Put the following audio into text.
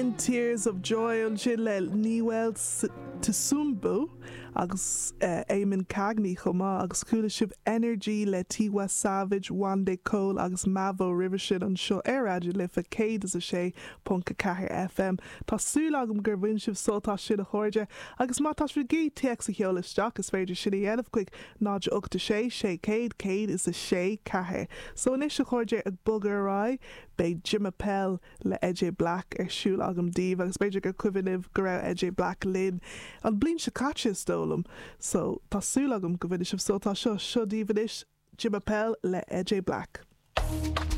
Sin Tears of Joy ansin le Niwel Tsumbu agus Eamonn Cagney chomh maith agus chuala sibh Energy le Tiwa Savage, Wande Coal agus Mavo roimhe sin anseo ar Raidió na Life 106.4 FM. Tá súil agam gur bhain sibh sult as sin a chairde agus má tá sibh ag iarraidh téacs a sheoladh isteach is féidir sin a dhéanamh chuig 0 8 6 600 106 4. So anois a chairde ag bogadh ar aghaidh beidh Jimma Pell le Eje Black ar siúl agam daoibh agus b'fhéidir gur cuimhin libh go raibh Eje Black linn an bliain seo caite is dóigh liom so tá súil agam go bhainfidh sibh sult as seo. Seo daoibh anois Jimma Pell le Eje Black.